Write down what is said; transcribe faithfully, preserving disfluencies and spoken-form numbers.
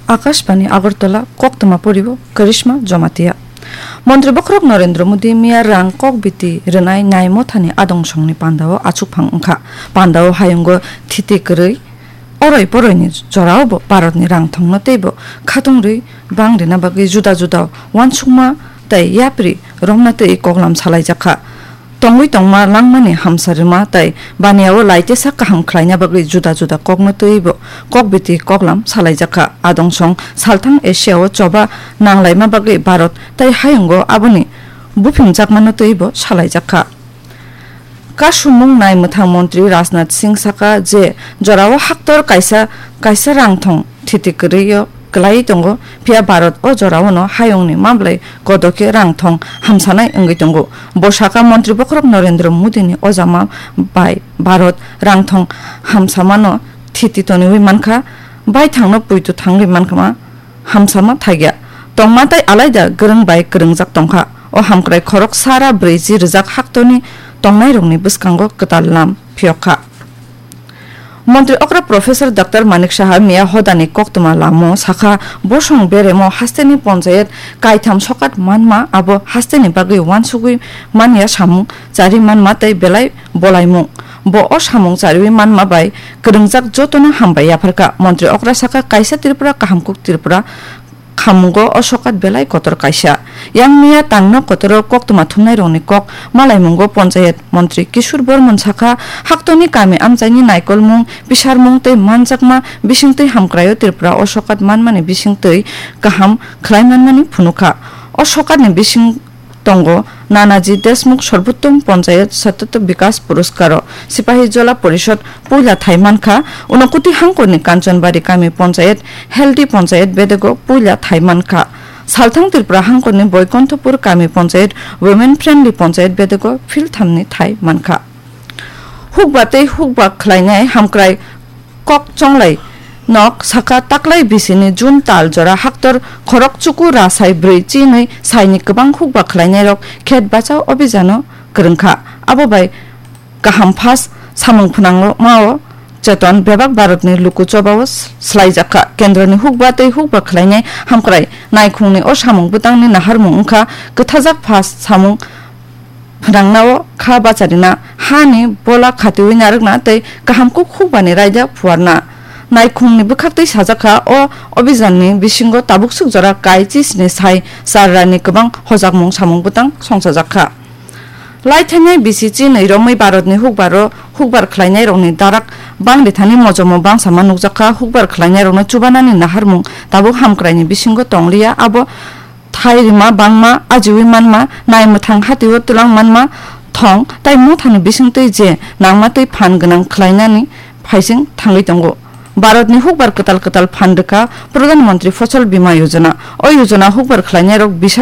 Akashbani Agartala, koktwma poribo Karishma Jamatia. Montri bokhorok Narendra Modi miya rang kok biti rwnai nai mothani adong songni pandao achukphang wngkha. Pandao hayungo thiti kwrwi oroi poroini jorao bo Bharatni rang thongno teibo khatung rwi bang rina bagwi juda juda uansukma tei yapri romna tei koklam salaijakha. Tongwi tongma langmani hamsa rwma tei baniao laitesa kaham khlaina bagwi juda juda kokno twibo kokbiti koklam salaijakha. Adongsong salthang Asia-o choba nanglaima bagwi Bharat tei hayungo aboni buphimjakmano twibo salaijakha. Kasumung nai mwthang montri Rajnath Singh saka je jorao haktor kaisa kaisa rang thong thiti kwrwi-o kwlaiwi tongo, phiya Bharat o jorao no hayungni mablai kodo khe rang thong hamsanai wngwi tongo. Bo saka montri bokhorok Narendra Modi ni ojama bai Bharat rang thong hamsamano thiti toniwi mankha, baithangno puitu thangwi mankha, hamsama thagya tongma tei alaida kwrwng bai kwrwngjak tongkha. O hamkrai khorok sara brwichi rwjak haktorni tongnairokni bwskango kwtal lam phiyokha. Montri okra Professor Doctor Manik Saha miya hodani koktwma lamo sakha, bosong beremo hasteni ponchayat kaitham sokat manma abo hasteni bagwi uansugwi manya samung chari manma tei belai bolaimung. Bo o samung chariwi manma bai kwrwngjak jotono hambai yapharkha. Montri okra sakha, kaisa Tripura kahamkuk Tripura khamungo o sokat belai kotor kaisa. Yang miya tangno kotoro koktwma thumnairokni kok malaimungo ponchayat montri Kishore Bormon sakha, haktorni kami amchaini naikolmung, bisarmung tei manjakma bisingtwi hamkraio Tripura o sokat manmani bisingtwi kaham khlai manmani phunukha. O sokatni bising tongo Nanaji Deshmukh Sarbottom Panchayat Sattatya Vikas Puroskaro, Sipahi Jola Porishod puila thai mankha, Unokuti hangkorni Kanchanbari Kami Panchayat, Healthy Panchayat bedego puila thai mankha, Salthang Tripura hangkorni Boikonthopur Kami Panchayat, Women Friendly Panchayat bedego philthamni thai mankha. Hukba tei hukba khlainai hamkrai kok chonglai nok saka, taklai bisini June tal jora haktor khorok chuku ra sai brwi chinwi saini kwbang hukba khlainairok khet bachao obhijano kwrwngkha. Abo bai kaham phas samung phwnangmao cheton bebak Bharatni luku chobao s-, slaijakha. Kendroni hukba tei hukba khlainai hamkrai naikhungni o samung bwtangni naharmung wngkha kwthajak phas samung phwnangnao kha bacharina, hani bola khatiwi narwkna tei kaham kuk hukbani raida phuarna. Naikhungni bwkhaktwi sajakha, o obhijanni bisingo tabukswk jora kai chisni sai charrani kwbang hojakmung samung bwtang songchajakha. Lai thainai bisi chinwi romwi Bharatni hukbaro hukbar khlainairokni darak bangri thani mojomo bangsama nukjakha. Hukbar khlainairokno chubanani naharmung tabuk hamkraini bisingo tongliya, abo thai rima bangma, ajiwi manma, nai mwthang hatio twlang manma, thong tai mothani bisingtwi je nangma twi phan gwnang khlainani phaising thangwi tongo. Bharatni hukbar kwtal kwtal phan rwkha Pradhan Mantri Fasal Bima Yojana. O yojana hukbar khlainairok bisa